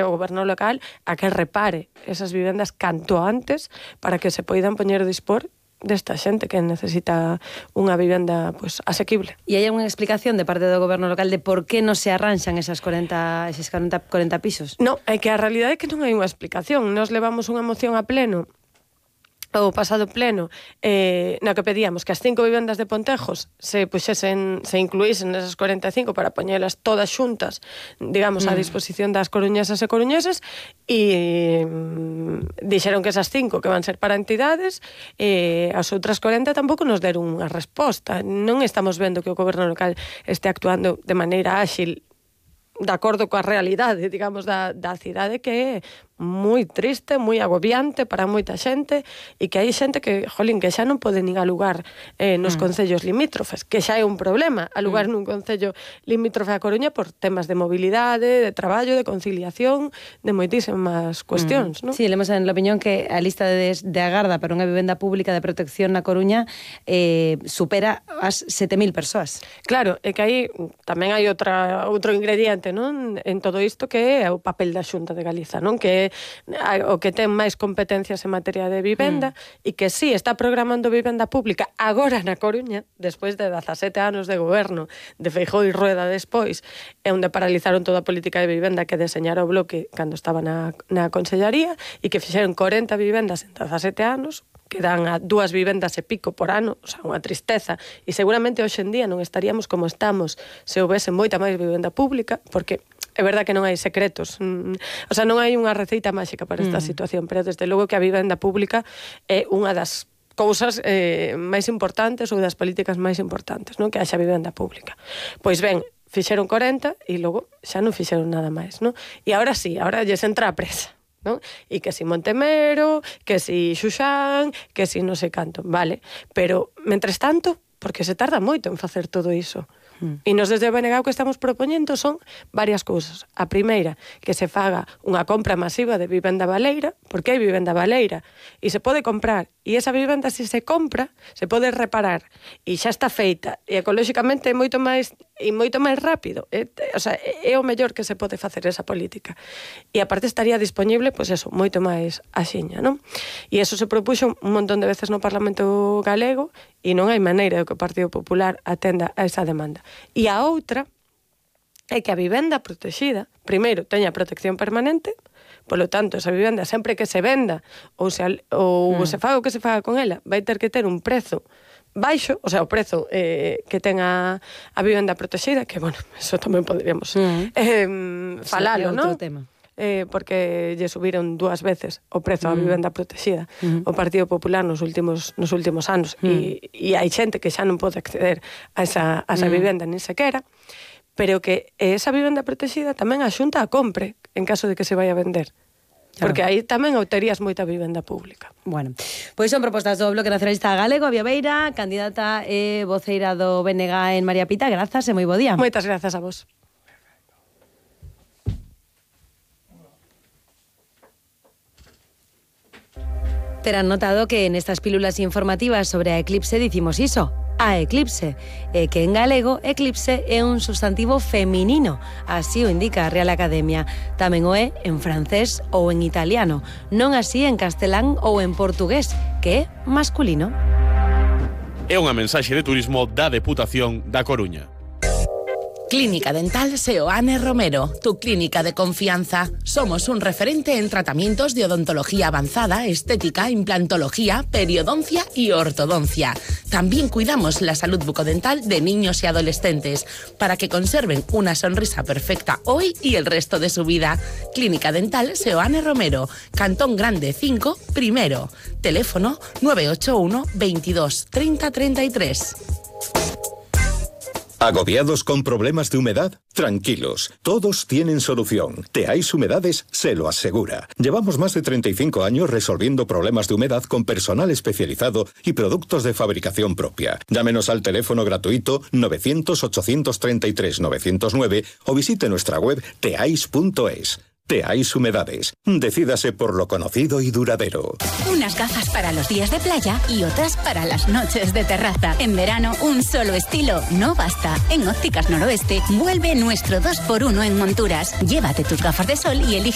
o goberno local a que repare esas vivendas canto antes para que se poidan poñer a dispor desta xente que necesita unha vivenda pues, asequible. E hai unha explicación de parte do goberno local de por que non se arranxan esos 40 pisos? Non, é que a realidade é que non hai unha explicación. Nos levamos unha moción a pleno o pasado pleno na que pedíamos que as 5 vivendas de Pontejos se incluísen nesas 45 para poñelas todas xuntas, digamos, a disposición das coruñesas e coruñeses, e dixeron que esas 5 que van ser para entidades, as outras 40 tampouco nos deron unha resposta. Non estamos vendo que o goberno local este actuando de maneira áxil de acordo coa realidade, digamos, da cidade, que é moi triste, moi agobiante para moita xente, e que hai xente que, jolín, que xa non pode nin alugar nos concellos limítrofes, que xa é un problema alugar nun concello limítrofe a Coruña por temas de mobilidade, de traballo, de conciliación, de moitísimas cuestións, non? Sí, lemos en la opinión que a lista de agarda para unha vivenda pública de protección na Coruña supera as 7.000 persoas. Claro, é que aí tamén hai outro ingrediente, non, en todo isto, que é o papel da Xunta de Galiza, non, que é o que ten máis competencias en materia de vivenda, e que sí, está programando vivenda pública agora na Coruña, despois de 17 anos de goberno de Feijóo e Rueda despois, e onde paralizaron toda a política de vivenda que deseñara o Bloque cando estaba na Consellaría, e que fixeron 40 vivendas en 17 anos, que dan a 2 vivendas e pico por ano, o sea, unha tristeza, e seguramente hoxe en día non estaríamos como estamos se houvese moita máis vivenda pública, porque é verdad que non hai secretos, o sea, non hai unha receita máxica para esta situación, pero desde logo que a vivenda pública é unha das cousas máis importantes ou das políticas máis importantes, non? Que haxa vivenda pública. Pois ben, fixeron 40 e logo xa non fixeron nada máis, non? E agora sí, agora lles entra a presa, non? E que si Montemero, que si Xuxán, que si non sei canto, vale, pero mentres tanto, porque se tarda moito en facer todo iso. E nos desde o BNG o que estamos propoñendo son varias cousas. A primeira, que se faga unha compra masiva de vivenda baleira, porque hai vivenda baleira, e se pode comprar, e esa vivenda, se se compra, se pode reparar, e xa está feita, e ecolóxicamente é moito máis rápido, o sea, é o mellor que se pode facer esa política. E aparte estaría disponible, pois eso, moito máis axiña, non? E eso se propuxo un montón de veces no Parlamento galego, e non hai maneira de que o Partido Popular atenda a esa demanda. E a outra é que a vivenda protexida, primeiro, teña protección permanente, polo tanto, esa vivenda, sempre que se venda ou se faga o que se faga con ela, vai ter que ter un prezo baixo, o sea, o prezo que ten a vivenda protexida, que, bueno, eso tamén poderíamos falalo, non? Outro tema. Porque lle subiron 2 veces o prezo á vivenda protexida o Partido Popular nos últimos anos, e hai xente que xa non pode acceder a esa vivenda nin sequera, pero que esa vivenda protexida tamén a Xunta a compre en caso de que se vai a vender. Claro. Porque aí tamén obterías moita vivenda pública. Bueno, pois son propostas do Bloque Nacionalista Galego, Avia Beira, candidata e voceira do BNG en María Pita. Grazas e moi bo día. Moitas grazas a vos. Terán notado que en estas pílulas informativas sobre a eclipse dicimos iso, a eclipse, e que en galego eclipse é un substantivo feminino, así o indica a Real Academia. Tamén o é en francés ou en italiano, non así en castelán ou en portugués, que é masculino. É unha mensaxe de turismo da Deputación da Coruña. Clínica Dental Seoane Romero, tu clínica de confianza. Somos un referente en tratamientos de odontología avanzada, estética, implantología, periodoncia y ortodoncia. También cuidamos la salud bucodental de niños y adolescentes para que conserven una sonrisa perfecta hoy y el resto de su vida. Clínica Dental Seoane Romero, Cantón Grande 5, primero. Teléfono 981 22 30 33. ¿Agobiados con problemas de humedad? Tranquilos, todos tienen solución. Teais Humedades se lo asegura. Llevamos más de 35 años resolviendo problemas de humedad con personal especializado y productos de fabricación propia. Llámenos al teléfono gratuito 900-833-909 o visite nuestra web teais.es. Teais Humedades. Decídase por lo conocido y duradero. Unas gafas para los días de playa y otras para las noches de terraza. En verano, un solo estilo no basta. En Ópticas Noroeste vuelve nuestro 2x1 en monturas. Llévate tus gafas de sol y elige